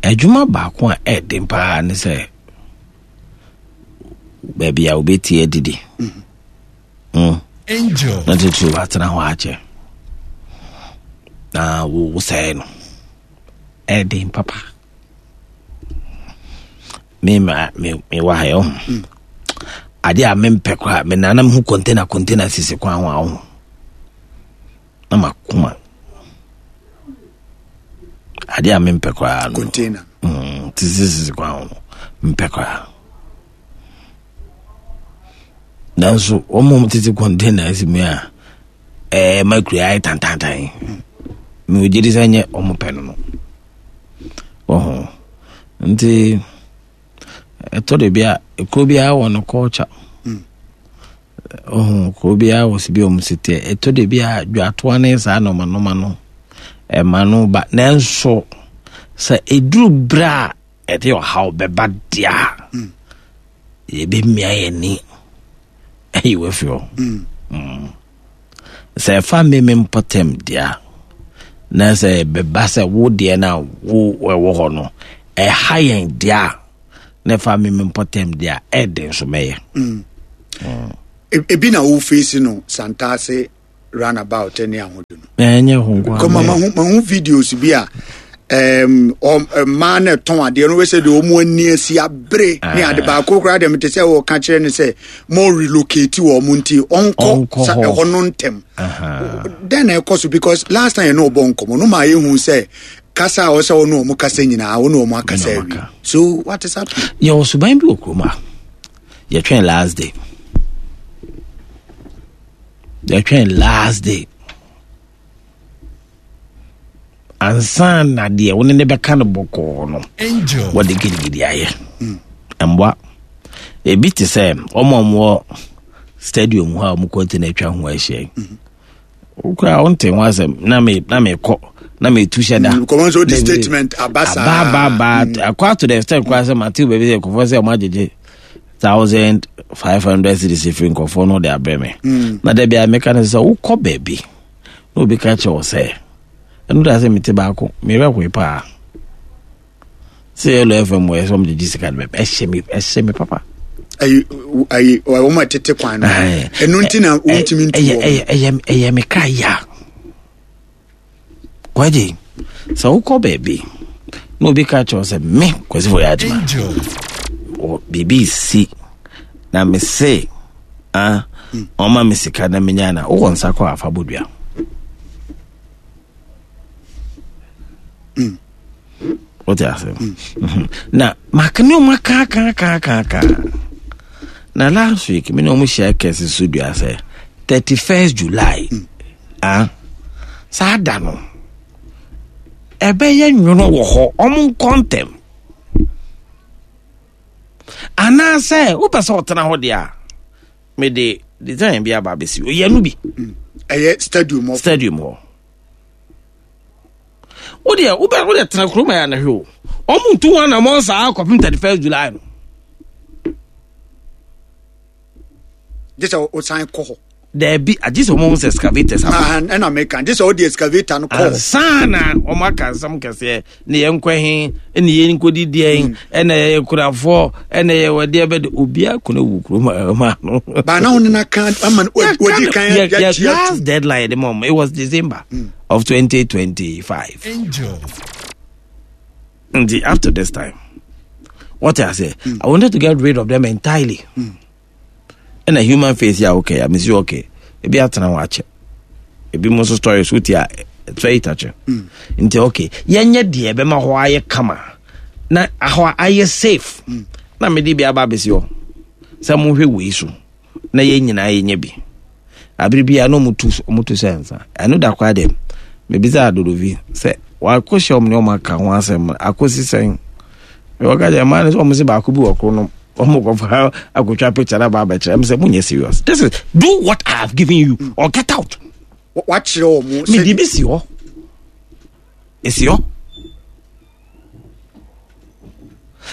Speaker 15: Adwuma baako a ɛden paa ne sɛ baabi a wobɛtie adidi na titiri watena hɔ akyɛ na wosɛe no, ɛden papa. Me ma me mewɔ ha yɛ ɔho adeɛ a mempɛ koraa, me nanam ho container container sisi kwan ho a ɔho na makoma adeɛ a mempɛ koraa no
Speaker 13: container
Speaker 15: sisi sisi kwan ho no mempɛ koraa, nanso wɔn a tete container si mu a ɛɛ ma kura ayɛ tantantan, mewɔ gyedi sɛ nyɛ wɔn pɛ no wɔho. Nti ɛtɔ de bi a kuro biara wɔ no culture, ɔho kuro biara wɔ si bi wɔn si teɛ. Ɛtɔ de bi a dwatoa ne saa nɔɔma nɔɔma no ɛma no ba, nanso sɛ eduru bere a ɛde ɔhaw bɛba deɛ a, yɛbɛmia yɛn ni ɛyi wɔ fi hɔ. Sɛ ɛfa mmemme mpɔtam deɛ a, na sɛ ɛbɛba sɛ wo deɛ no a wo ɛwɔ hɔ no ɛha yɛn deɛ a, na ɛfa mmemme mpɔtam deɛ a, ɛde nso mɛyɛ.
Speaker 13: Ebi na wo face no Santase runabout ne ahodo no.
Speaker 15: Ɛnyɛ ho nko.
Speaker 13: Kɔma mahu videos bi a mmaa no ɛtɔn adeɛ no wɛsɛ deɛ wɔn ani asi abere ne ade baako koraa deɛ mete sɛ wɔka kyerɛ no sɛ mo relocate wɔ mo nti ɔnkɔ sa ɛhɔ no ntɛm. Dɛn na ɛkɔ so? Because last time yɛne ɔbɔ nkɔmmɔ no maa yɛhu sɛ kasa a ɔsɛ ɔne ɔmo kasa nyinaa ɔne ɔmo akasa awie, so what is happening?
Speaker 15: Yɛwɔ suban bi wɔ kurom a yɛtwɛn last day, yɛtwɛn last day ansa na deɛ wo ne ne bɛka no bɔkɔɔ no wɔde gidigidi ayɛ mboa. Ebi te sɛ ɔmo a wɔwɔ stadium hɔ a wɔn kɔntena atwa ho ahyia yi, wokura wonte ho asɛm na me na mekɔ na metu hyɛ da.
Speaker 13: Kɔmɔ nso di statement aba saa.
Speaker 15: Aba aba aba akɔ ato the extent koraa sɛ mate baabi sɛ nkɔfoɔ sɛ ɔmo agyegye 1,500 cedis firi nkɔfoɔ no de abrɛ me. Na da bia meka no sɛ wokɔ baabi na obi ka kyerɛ wo sɛ ɛno da sɛ mete baako merɛ hoe paa sɛ yɛlɔ fm wɔ sɛ ɔmgyegye sika no bɛbɛ ɛhyɛ me papa.
Speaker 13: Ayi ayi wɔn a tete kwan no ɛno nti na wɔntumi ntu wɔn.
Speaker 15: Ɛyɛ ɛyɛ me kra ya kwagye sɛ wokɔ baabi na obi ka kyerɛ wo sɛ me Kwasi fo yɛ adwuma wɔ biribi si na me se ah ɔma me sika na menya na wowɔ nsa kɔ afa bodua. Wote ase? Na maka ne ɔma kaakaakaaka na last week me ne ɔmo hyia kɛse so dua sɛ 31st July, ah, saa da no ɛbɛyɛ nwono wɔ hɔ, ɔmo nkɔ ntɛm anaasɛ wopɛ sɛ ɔtena hɔ deɛ a mede design bi aba abɛsi oyɛ no bi.
Speaker 13: Ɛyɛ stadium hɔ.
Speaker 15: Stadium hɔ. Wodeɛ wobɛ wodeɛ tena kurom ayɛ anahwɛ o. Ɔmo ntu ho anamɔ saa kɔpem 31st July no.
Speaker 13: Gye sɛ wosan kɔ hɔ.
Speaker 15: Daabi, agye sɛ ɔmo sɛ excavators aba.
Speaker 13: Ah, ɛna meka gye sɛ wode excavator no kɔ.
Speaker 15: Ansa na ɔmo aka nsɛm kɛseɛ ne yɛn nkɔ he ne yɛn nkɔdi deɛn hmm. ɛna yɛyɛ kurafoɔ ɛna yɛ wɔdeɛ bɛde obiara kɔnɔ wu kurom ɛma no.
Speaker 13: Baana wo nena kan ama wadi kan
Speaker 15: yɛ last deadline de mom it was December mm. of 2025. Angel. Nti up to this time what I say mm. I wanted to get rid of them entirely. Mm. Ɛna human face yɛ a okay a mesi okay ebi atena hɔ akyɛ ebi mo nso stories wotie a it's very touching mm. nti okay yɛnyɛ deɛ ɛbɛma hɔ ayɛ kama na ahɔ ayɛ safe mm. na mede bi aba abɛsi hɔ sɛ mohwɛ wei so na yɛn nyinaa yɛnyɛ bi abere bi a na ɔmo tu ɔmo tu sɛ nsa ɛno da koraa deɛ mebisa adodovi sɛ wakɔhyɛ ɔmo ne ɔmo aka ho asɛm akɔsi sɛn wɔka kyerɛ mmaa no sɛ ɔmo se baako bi wɔ koro no ɔmo kɔfa akotwa picture na ba abɛkyerɛ ɛmo sɛ mo nyɛ serious this is do what I have given you or get out.
Speaker 13: wakyerɛ ɔmo
Speaker 15: sɛ mede bi si hɔ esi hɔ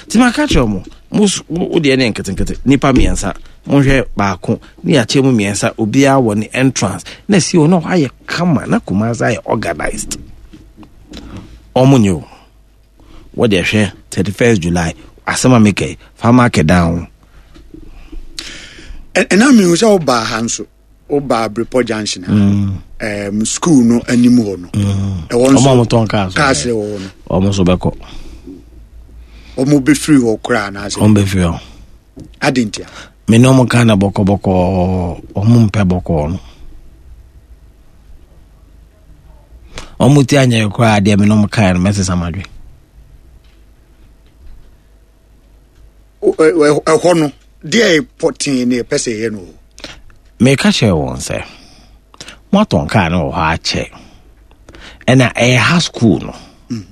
Speaker 15: nti maka kyerɛ ɔmo mo wo deɛ ne nketenkete nipa mmiɛnsa monhwɛ baako ne yɛakyɛ mu mmiɛnsa obiara wɔ ne entrance na esi hɔ na hɔ ayɛ kama na Kumasi ayɛ organized ɔmo nyɛ o. Wo deɛ hwɛ 31st July asɛm a meka yi fa mark down.
Speaker 13: Ɛna mehu sɛ wobaa ha nso wobaa Brepɔ junction ha mm. um, school no anim hɔ no mm.
Speaker 15: ɛwɔ nso ɔmo tɔn cars
Speaker 13: cars wɔ hɔ no
Speaker 15: ɔmo nso bɛkɔ
Speaker 13: ɔmo bɛfiri hɔ koraa anaasɛ
Speaker 15: ɔmo bɛfiri hɔ
Speaker 13: adi ntia
Speaker 15: me ne ɔmo ka na bɔkɔbɔkɔ ɔmo mpɛ bɔkɔɔ no Wɔn ti anyɛ koraa deɛ me ne wɔn kaeɛ no mɛsesa m'adwene.
Speaker 13: Ɛhɔ no deɛ pɔtee ne ɛpɛ sɛ ɛyɛ no.
Speaker 15: Meka kyerɛ wɔn sɛ moatɔn kaa no wɔ hɔ akyɛ ɛna ɛyɛ ha school no. Mm.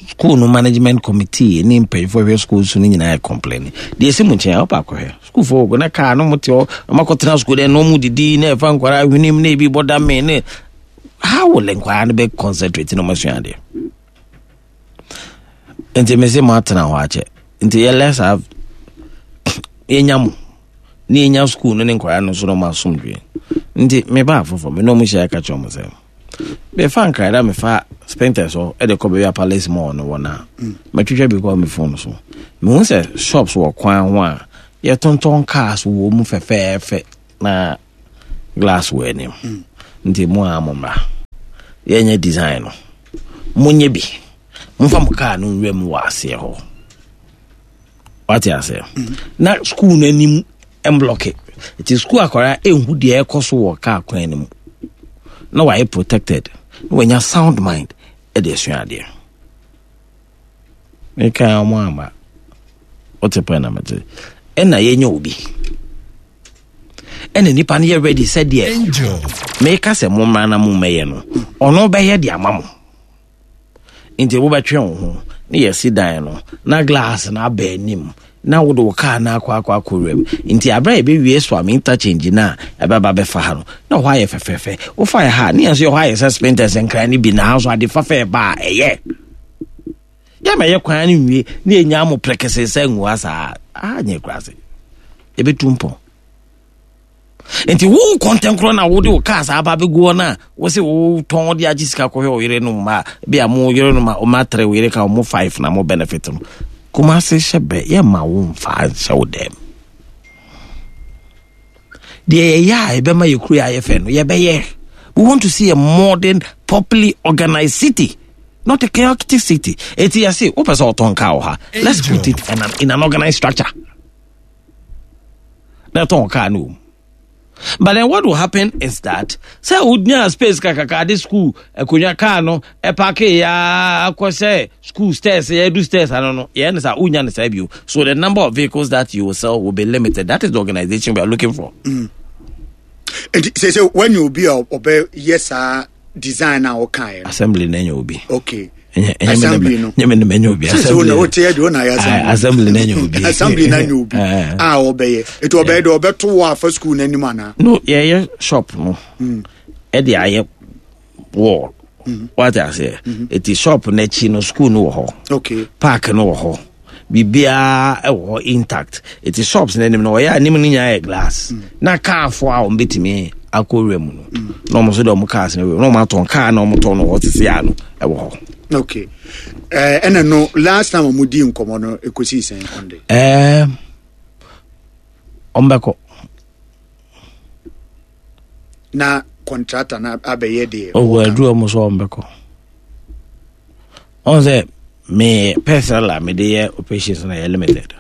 Speaker 15: School no management committee ne mpanyinfoɔ hwɛ school so no nyinaa yɛ complain deɛ ɛsi mu nkyɛn a ɔba akɔhwɛ sukuufoɔ wɔ na kaa no mo te hɔ ɔmo akɔtena sukuu dɛ na ɔmo didi na ɛfa nkwaraa hwenem na ebi bɔ dame ne how will nkwaraa no bɛ concentrate na ɔmo asua adeɛ nti mese mo atena hɔ akyɛ nti yɛ let's have yɛnya mo ne yɛnya sukuu no ne nkwaraa no nso na ɔmo asomdwe nti meba afoforɔ me na ɔmo hyia ka kyerɛ ɔmo sɛ mefa nkra na mefa spinters hɔ de kɔ baabi a palace mall no wɔ no a matwitwa bi kɔ me phone so mehu sɛ shops wɔ kwan ho a yɛtontɔn cars wɔ mu fɛfɛɛfɛ na glass wɔ anim nti mo a mo mmra yɛnyɛ design no monyɛ bi momfa mo car no nwura mu wɔ aseɛ hɔ wate aseɛ na school no anim mblɔke nti school akwadaa ɛnhu deɛ ɛkɔ so wɔ kaa kwan no mu na wayɛ protected na wanya sound mind ɛde asua adeɛ meka ɔmo ama wote pɛ na mete ɛna yɛnyɛ obi ɛna nipa no yɛ ready sɛdeɛ meka sɛ mommra na mommɛyɛ no ɔno bɛyɛ de ama mo Nti wobɛtwe wo ho ne yɛsi dan no na glass no aba anim na wode wo kaa no akɔ akɔ akɔwura mu. Nti aberɛ a yɛbɛwie Suame interchange no a ɛbɛba bɛfa ha no na hɔ ayɛ fɛfɛɛfɛ. Wofa yɛ ha a ne yɛn nso yɛ hɔ ayɛ sɛ spinters nkran no bi na ha nso ade fafɛ ɛba a ɛyɛ. Yɛma yɛ kwan no nwie ne yɛnya mo prɛkɛsɛ sɛ ngua saa. Ah nyɛ kurase. Yɛbɛtu mpɔn. nti wo kɔntɛnkorɔ na wode wo kaa saa aba bɛgu hɔ no a wo se wotɔn de agye sika kɔhwɛ wo yere no ma bi a mo yere no ma ɔma tere wo yere ka ɔmo five na mo benefit no Kumase hyɛ bɛ yɛma wo mfa nhyɛ wo dɛm deɛ yɛyɛ a ɛbɛma yɛ kuro ayɛ fɛ no yɛbɛyɛ we want to see a modern properly organized city not a chaotic city eti yɛse wopɛ sɛ ɔtɔn kaa wɔ ha let's put it in an, in an organized structure na ɛtɔn kaa no wɔ but then what will happen is that sɛ wonya space kakaka de school akonnwa kaa no ɛpake ya akɔ sɛ school stairs yɛdu stairs ano no yɛn no sa wonya no saa bio so the number of vehicles that you will sell will be limited that is the organization we are looking for.
Speaker 13: Mm. nti sɛ sɛ woanya obi a ɔbɛyɛ saa design a wɔkaeɛ no
Speaker 15: assembly na ɛnyɛ obi
Speaker 13: okay assembly no
Speaker 15: nyɛ me ne manya obi
Speaker 13: assembly no wote yɛ de wo na yɛ
Speaker 15: assembly assembly na ɛnyɛ obi
Speaker 13: assembly na ɛnyɛ obi a ɔbɛyɛ eti ɔbɛyɛ de ɔbɛto wɔ afa school n'anim anaa
Speaker 15: no yɛyɛ shop no ɛde ayɛ wall. Wate aseɛ? Eti shop n'akyi no school no wɔ hɔ.
Speaker 13: Okay.
Speaker 15: Park no wɔ hɔ. Biribiara wɔ hɔ intact. Eti shops n'anim no ɔyɛ anim no nyinaa yɛ glass. Na kaafoɔ a wɔn betumi akɔ wura mu no. Na wɔn nso de wɔn cars no wura mu. Na wɔn atɔn kaa na wɔn tɔn no hɔ sisi ano ɛwɔ hɔ.
Speaker 13: Okay. Ɛna no last time wɔn di nkɔmɔ no ekosi sɛn on de.
Speaker 15: Ɛɛ wɔn bɛkɔ.
Speaker 13: Na contractor na abɛyɛ deɛ.
Speaker 15: Ɔwɔ aduru wɔn so wɔn bɛkɔ. Wɔn sɛ me personal a mede yɛ operations na yɛ limited.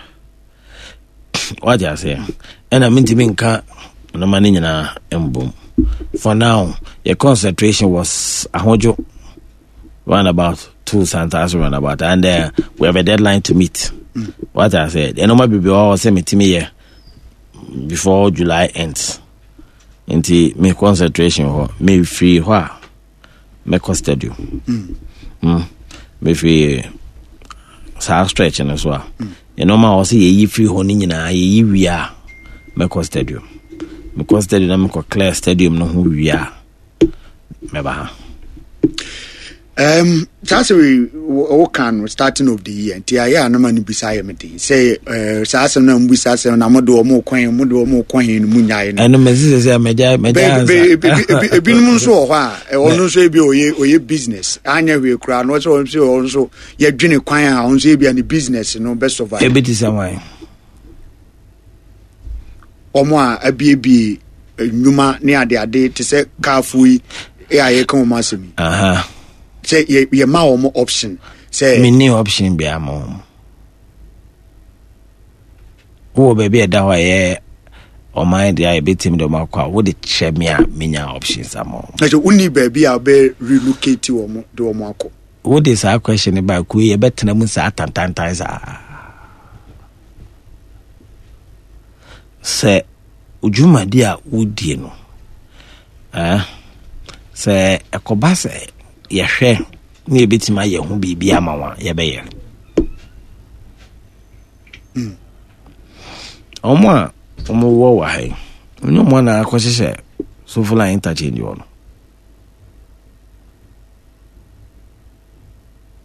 Speaker 15: Wate aseɛ? Ɛna mentumi nka nneɛma no nyinaa mbom. For now, your concentration was Ahodwo roundabout to Santase roundabout and we have a deadline to meet. Wate aseɛ? Nneɛma bebree wɔ hɔ sɛ metumi yɛ before July ends. Nti me concentration hɔ, mefiri hɔ a mɛkɔ stadium. Mefiri saa stretch no so a, nneɛma a wɔsɛ yɛyi firi hɔ no nyinaa yɛyi wie a mɛkɔ stadium. Mekɔ stadium na mekɔ clear stadium no ho wie a mɛba ha.
Speaker 13: Saa sɛ woka no starting of the year nti ayɛ a na ma no bisa yɛ me den sɛ saa asɛm no a mobisa sɛ na mode ɔmo kɔ he mode ɔmo kɔ he no mu nyae no
Speaker 15: ɛno mɛsi sɛ sɛ mɛgya mɛgya ansa
Speaker 13: ebinom nso wɔ hɔ a ɔno nso ebi ɔyɛ ɔyɛ business anyɛ hwee koraa no ɔsɛ ɔno nso ɔno nso yɛdwene kwan a ɔno nso ebi a ne business no bɛ survive
Speaker 15: ebi te sɛ wan
Speaker 13: wɔn a abiebie nnwuma ne adeade te sɛ kaafo yi a yɛka wɔn asɛm yi sɛ yɛma wɔn option sɛ
Speaker 15: menni option biara ma wɔn wowɔ baabi a ɛda hɔ a ɛyɛ ɔman deɛ a yɛbɛtumi de wɔn akɔ a wode kyerɛ me a menya options ama wɔn
Speaker 13: ɛsɛ wonni baabi a wobɛ relocate wɔn de wɔn akɔ
Speaker 15: wode saa question no ba kuo yɛbɛtena mu saa tantantan saa Sɛ dwumadi a wodie no, eh, sɛ ɛkɔba sɛ yɛhwɛ na yɛbɛtumi ayɛ ho biribi ama wɔn a, yɛbɛyɛ. Wɔn a wɔwɔ wɔ ha yi, ɛnyɛ wɔn na akɔhyehyɛ Sofoline interchange hɔ no.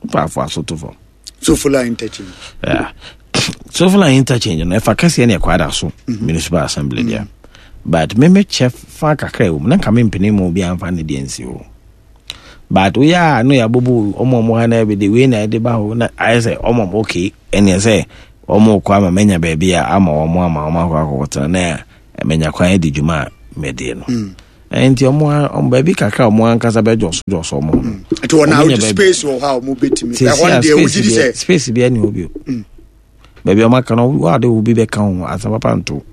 Speaker 15: Paafo aso to fam.
Speaker 13: Sofola interchange.
Speaker 15: Yeah. Sofola interchange no ɛfa kɛseɛ ne ɛkɔ ada so mhm. municipal assembly deɛ. Mm. But me me kyɛ fa kakra ɛwɔ mu na nka me mpene mu obi anfa ne deɛ nsi hɔ. But woyɛ a no yɛ abobo ɔmo ɔmo ha na ɛbi de wei na ɛde ba hɔ na ayɛ sɛ ɔmo ɔmo okay ɛneɛ sɛ ɔmo kɔ ama manya baabi a ama ɔmo ama ɔmo akɔ akɔkɔtena na manya kwan adi dwuma a mɛdie no. Mm. Nti ɔmo ɔmo baabi kakra ɔmo ankasa bɛ jɔso jɔso ɔmo ho.
Speaker 13: Mm. Nti wɔn na space wɔ hɔ a ɔmo betumi. Ɛhɔ no deɛ wogye di sɛ.
Speaker 15: Space bi ɛni hɔ bio. Mm. Baabi ɔmo aka no wɔn ade obi bɛ ka ho asa papa nto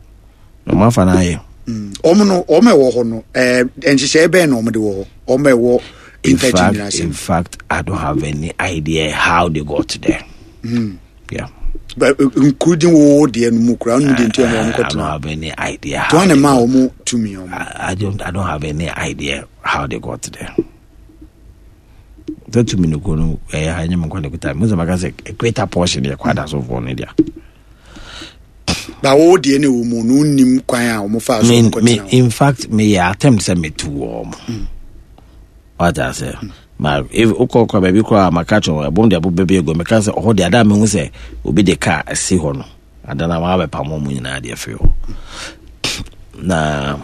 Speaker 15: na ɔmo afa n'ayɛ.
Speaker 13: Mm. Ɔmo no ɔmo ɛwɔ hɔ no ɛɛ nhyehyɛe bɛn na ɔmo de wɔ hɔ ɔmo ɛwɔ interchange ase.
Speaker 15: In fact, I don't have any idea how they got there.
Speaker 13: Mm.
Speaker 15: Yeah.
Speaker 13: But including wo deɛ no mu koraa ɔno deɛ nti ɛna wɔn kɔtena.
Speaker 15: I don't have any idea.
Speaker 13: How they maa wɔn tumi wɔn.
Speaker 15: I don't have any idea how they got there. Sɛ tumi no ko no ɛyɛ ha nyɛ mu nkwa ne kuta mu sɛ maka sɛ a greater portion yɛ kwada sofoɔ no deɛ.
Speaker 13: Ba wo deɛ ne wɔ mu no nnim kwan a wɔn fa so wɔn kɔtena.
Speaker 15: In fact me yɛ attempt sɛ me tu wɔn. Wate aseɛ? Ma if wokɔ kɔ baabi koraa a maka kyerɛ wɔn ɛbom de abo bɛbi agu meka sɛ ɔhɔ deɛ ada a mehu sɛ obi de kaa asi hɔ no ada no a wɔabɛpam wɔn nyinaa deɛ firi hɔ na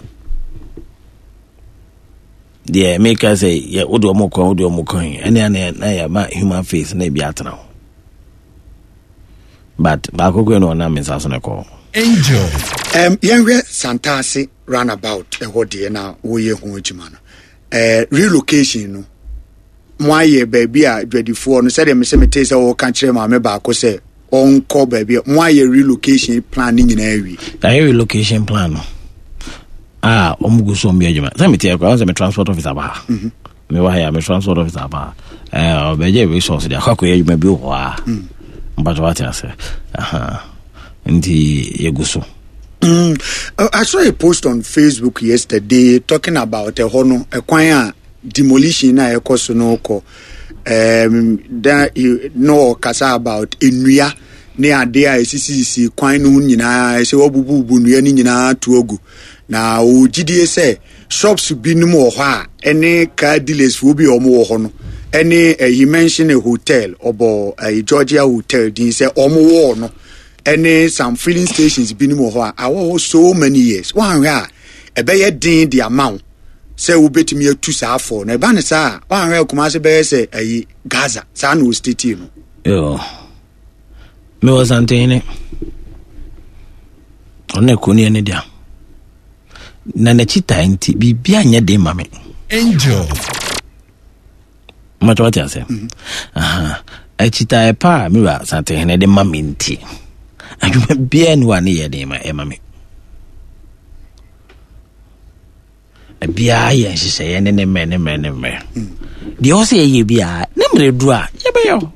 Speaker 15: deɛ meka sɛ yɛ wode wɔn kɔ wode wɔn kɔ yi ɛne ana na yɛma human face na ebi atena hɔ but baako kɔ na ɔnam me nsa so na ɛkɔ.
Speaker 13: Angel. Yɛnhwɛ Santase runabout ɛhɔ deɛ na woyɛ ho adwuma no. Eh, relocation no mo ayɛ baabi a dwadifoɔ no sɛdeɛ mesɛ metee sɛ wɔka kyerɛ maame baako sɛ ɔnkɔ baabi a mo ayɛ relocation plan no nyinaa awie.
Speaker 15: Yɛayɛ relocation plan no a wɔn gu so wɔn yɛ adwuma sɛ mete akora sɛ me transport officer ba ha mhm. mewɔ ha yɛ me transport officer ba ha ɛɛ ɔbɛgye resource de akɔ akɔyɛ adwuma bi wɔ hɔ a mm. mpatwa wate ase nti yɛgu so.
Speaker 13: I saw a post on Facebook yesterday talking about ɛhɔ no ɛkwan a demolition na ɛkɔ so no kɔ um, that no ɔkasa about nnua ne adeɛ a ɛsisisisi kwan no ho nyinaa ɛsɛ wɔbububu nnua no nyinaa to agu na ɔgyidie sɛ. Shops binom wɔ hɔ a ɛne car dealers foɔ bi a wɔn wɔ hɔ no ɛne he mention a hotel, ɔbɔ Georgia Hotel din sɛ wɔn wɔ no ɛne some filling stations binom wɔ hɔ a awɔ hɔ so many years. Wɔanhwɛ a ɛbɛyɛ den de ama wo sɛ wobɛtumi atu saa afɔ no. Ɛba ne saa a, wɔanhwɛ a Kumase bɛyɛ sɛ ɛyi Gaza saa na ɔstatie no.
Speaker 15: Yo. Mewɔ Santehene. Ɔno na kuro no yɛ ne dea. Na n'akyi taa nti biribi anyɛ den ma me.
Speaker 12: Angel.
Speaker 15: Mmatwa wate ase. Akyitaeɛ pa a me wura Santehene de ma me nti adwuma biara ni hɔ a ne yɛ den ma ɛma me. Biara yɛ nhyehyɛeɛ ne ne mmerɛ ne mmerɛ ne mmerɛ. Deɛ ɔsɛ yɛyɛ biara ne mmerɛ duru a yɛbɛyɛ o.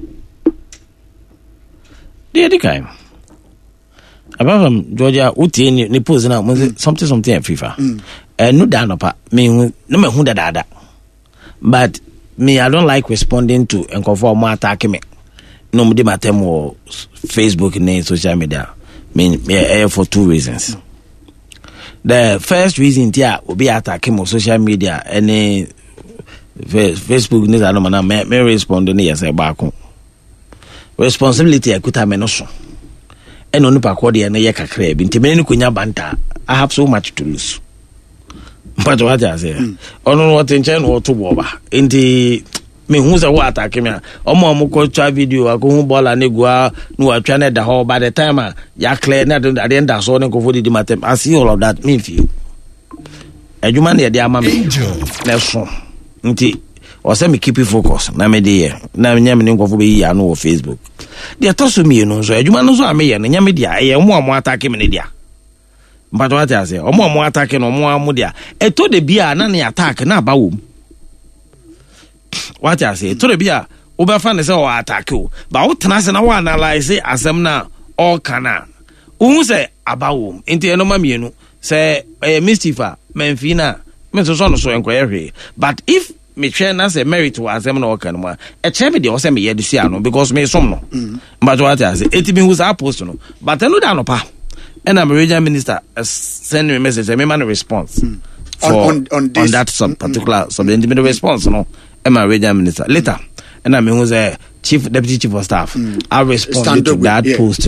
Speaker 15: Deɛ ɛdi kan, apart from Georgia, wotie ne ne post na mo sɛ something something at FIFA. Ɛnu da anɔpa mehu na mahu dadaada. But me I don't like responding to nkurɔfoɔ a wɔn attack me na wɔn di m'atɛm wɔ Facebook ne social media. Me ɛyɛ for two reasons. The first reason ti a obi attack me wɔ social media ɛne Facebook ne saa nɔɔma na me respond ne yɛ sɛ baako. Responsibility a ɛkuta me no so ɛna onipa kɔ deɛ no yɛ kakraa bi nti mene no kɔnya banta. I have so much to lose. Mpatɛ wate aseɛ. Ɔno no ɔte nkyɛn na ɔto bɔɔba nti mehu sɛ wo atake me a ɔmo a ɔmo twa video akɔhu bɔɔla ne gua na watwa no ɛda hɔ by the time a yɛaklɛ ne adeɛ nda so ne nkurɔfoɔ didi matam. I see all of that, memfie adwuma na yɛde ama me na ɛso nti ɔsɛ me keep focus na mede yɛ na nyɛ me ne nkurɔfoɔ bɛyi ano wɔ Facebook. Deɛ ɛtɔ so mmienu nso, adwuma no nso a meyɛ no nyɛ me dea, ɛyɛ ɔmo a mo atake me ne dea. Mpatɔ ate aseɛ, ɔmo a mo atake no ɔmo a mo dea. Ɛtɔ de bi a na ne attack na aba wɔ mu. Wate aseɛ, ɛtɔ de bi a wobɛfa ne sɛ ɔwɔ atake o, ba wotena ase na wo analyse asɛm no a ɔreka no a, wohu sɛ aba wɔ mu. Nti ɛno ma mmienu sɛ ɛyɛ mischief a mamfii no a mensosɔ no so nkɔyɛ hwee. But if mehwɛ na sɛ merit wɔ asɛm na ɔka no mu a, ɛkyerɛ me deɛ ɔsɛ meyɛ de si ano because mesom no. Mpatwɛ wate ase, ɛti mehu saa post no. But ɛno da anɔpa ɛna me regional minister send me message sɛ mema no response for on that sub particular subject. Nti mede response no ɛma regional minister later ɛna mehu sɛ chief deputy chief of staff I responded to that post.